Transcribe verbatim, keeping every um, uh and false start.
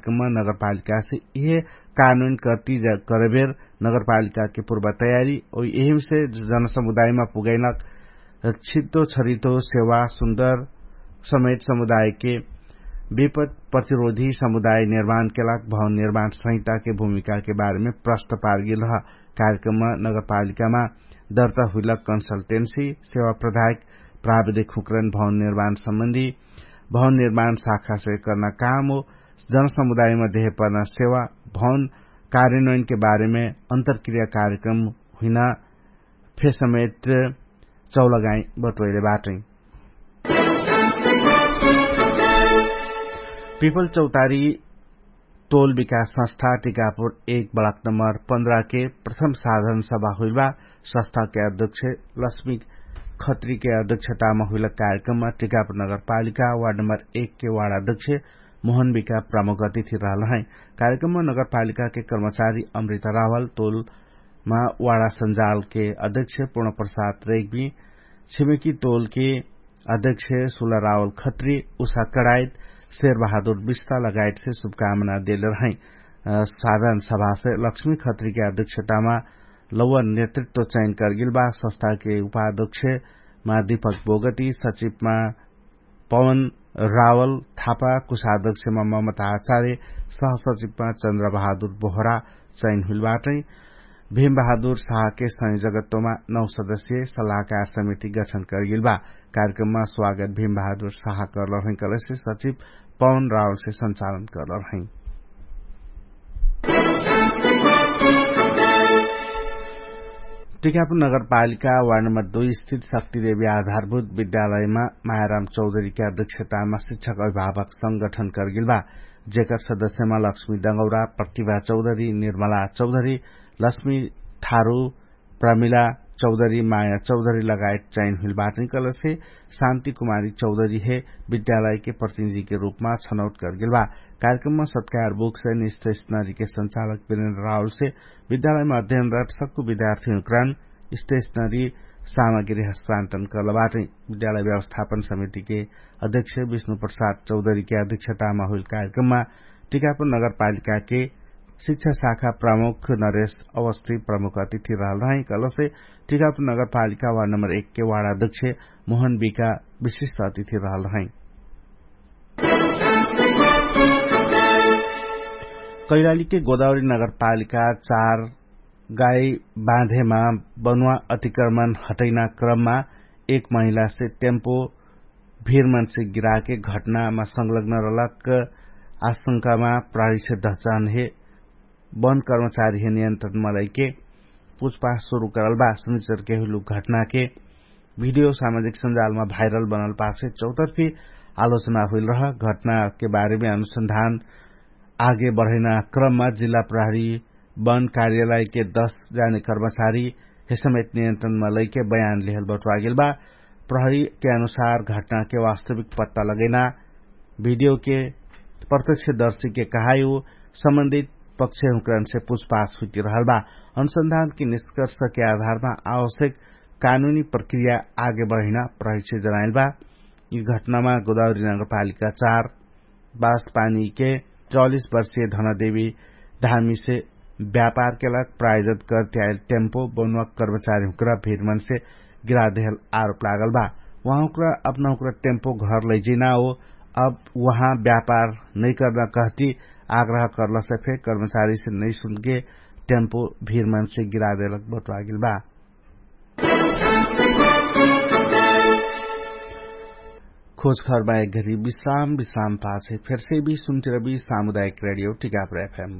कार्यक्रममा नगरपालिकासे इहे कानुन कर्ति करबेर नगरपालिकाके पुर्वा तयारी ओ यहिमसे जनसमुदायमा पुगैनक छित्तो छरितो सेवा सुन्दर समेत समुदायके विपत प्रतिरोधी समुदाय निर्माणके लाग भवन निर्माण संहिताके भूमिकाके बारेमे प्रस्त पारगेल रह। कार्यक्रममा नगरपालिकामा दर्ता हुइलक कन्सल्टेन्सी सेवा प्रधायक प्राविधिक हुँकरन भवन निर्माण सम्बन्धी भवन निर्माण शाखासे कर्ना काम ओ जनसमुदायमा देहे पर्ना सेवा भवन कार्यन्वयनके बारेमे अन्तरक्रिया कार्यक्रम हुइना फेसमेट चौलगाई बटोइले बाटै। पिपल चौतारी तोल विकास संस्था टिकापुर एक ब्लक नम्बर पन्द्रह के प्रथम साधन सभा हुइल बा। संस्था के अध्यक्ष लक्ष्मी खत्री के अध्यक्षतामा हुइल कार्यक्रममा टिकापुर नगरपालिका वार्ड नम्बर एक के वार्ड अध्यक्ष मोहन विका प्रमुख अतिथि रहल है। कार्यक्रममा नगरपालिका के कर्मचारी अमृता रावल तोल मा वाडा सञ्जालके अध्यक्ष पूर्ण प्रसाद रेग्मी छिमेकी तोलके अध्यक्ष सुला रावल खत्री उषा कडायत शेर बहादुर विस्ता लगायतसे शुभकामना देले रहै। साधारण सभासे लक्ष्मी खत्रीके अध्यक्षतामा लौवा नेतृत्व चयन करगेल बा। संस्थाके उपाध्यक्षमा दीपक बोगती सचिवमा पवन रावल थापा कुशाध्यक्षमा ममता आचार्य सहसचिवमा चन्द्र बहादुर बोहरा चयन हुइल बाटै। भीम बहादुर साहके संयोजकत्वमा नौ सदस्य सल्लाहकार समिति गठन करगेल बा। कार्यक्रममा स्वागत भीम बहादुर साह करलरहै कलेसे सचिव पवन रावलसे सञ्चालन करलरहै। टिकापुर नगरपालिका वार्ड नम्बर दुई स्थित शक्तिदेवी आधारभूत विद्यालयमा मायाराम चौधरीके अध्यक्षतामा शिक्षक अभिभावक संगठन करगेल बा। जेकर सदस्यमा लक्ष्मी दङ्गौरा प्रतिभा चौधरी निर्मला चौधरी लक्ष्मी थारु प्रमिला चौधरी माया चौधरी लगायत चयन हुइल बाटै कलसे शान्ति कुमारी चौधरी हे विद्यालयके प्रतिनिधिके रूपमा छनौट करगेल बा। कार्यक्रममा सत्कार बुक्स एन्ड स्टेशनरीके सञ्चालक बिरेन्द्र रावलसे विद्यालयमा अध्ययनरत सक्कु विद्यार्थीहुँक्रान स्टेशनरी सामग्री हस्तान्तरण करल बाटै। विद्यालय व्यवस्थापन समितिके अध्यक्ष विष्णु प्रसाद चौधरीके अध्यक्षतामा हुइल कार्यक्रममा टिकापुर नगरपालिकाके शिक्षा शाखा प्रमुख नरेश अवस्थी प्रमुख अतिथि रहल रहै कलसे टिकापुर नगरपालिका वार्ड नम्बर एकके वार्ड अध्यक्ष मोहन बिका विशिष्ट अतिथि रहल रहै। कैलालीके गोदावरी नगरपालिका चार गाई बाँधेमा बनुवा अतिक्रमण हटैना क्रममा एक महिलासे टेम्पो भिरमनसे गिराके घटनामा संलग्न रहलक आशंकामा प्राणीसे दहचान हे वन कर्मचारी हे नियन्त्रणमा लैके पुछपाछ सुरु करल बा। सुनिचरके हुइलु घटनाके भिडियो सामाजिक सञ्जालमा भाइरल बनल पाछे चौतर्फी आलोचना हुइल रह। घटनाके बारेमे अनुसन्धान आगे बढैना क्रममा जिल्ला प्रहरी वन कार्यालयके दश जाने कर्मचारी हेसमेत नियन्त्रणमा लैके बयान लिहल बटुवागेल बा। प्रहरीके अनुसार घटनाके वास्तविक पत्ता लगैना भिडियोके प्रत्यक्षदर्शीके कहायो सम्बन्धित पक्षहुँकरनसे पुछपाछ हुइति रहल बा। अनुसन्धानके निष्कर्षके आधारमा आवश्यक कानुनी प्रक्रिया आगे बढैना प्रहरीसे जनाइल बा। यि घटनामा गोदावरी नगरपालिका चार बासपानीके चौलिस वर्षीय धनदेवी धामीसे व्यापारके लाग प्रायोजत करते आइल टेम्पो बनुवा कर्मचारीहुँक्रा भिरमनसे गिरादेहल आरोप लागल बा। उहाँहुँक्रा अपनाहुँक्रा टेम्पो घर लैजिना हो अब उहाँ व्यापार नैकर्ना कहती आग्रह कर्लसे फे कर्मचारीसे नैसुनके टेम्पो भिरमनसे गिरादेहलक बटुवागेल बा। खोजखरमा एक घरी विश्राम विश्राम पाछे फेरसे भी सुन्तिरबी सामुदायिक रेडियो टिकापुर एफएम।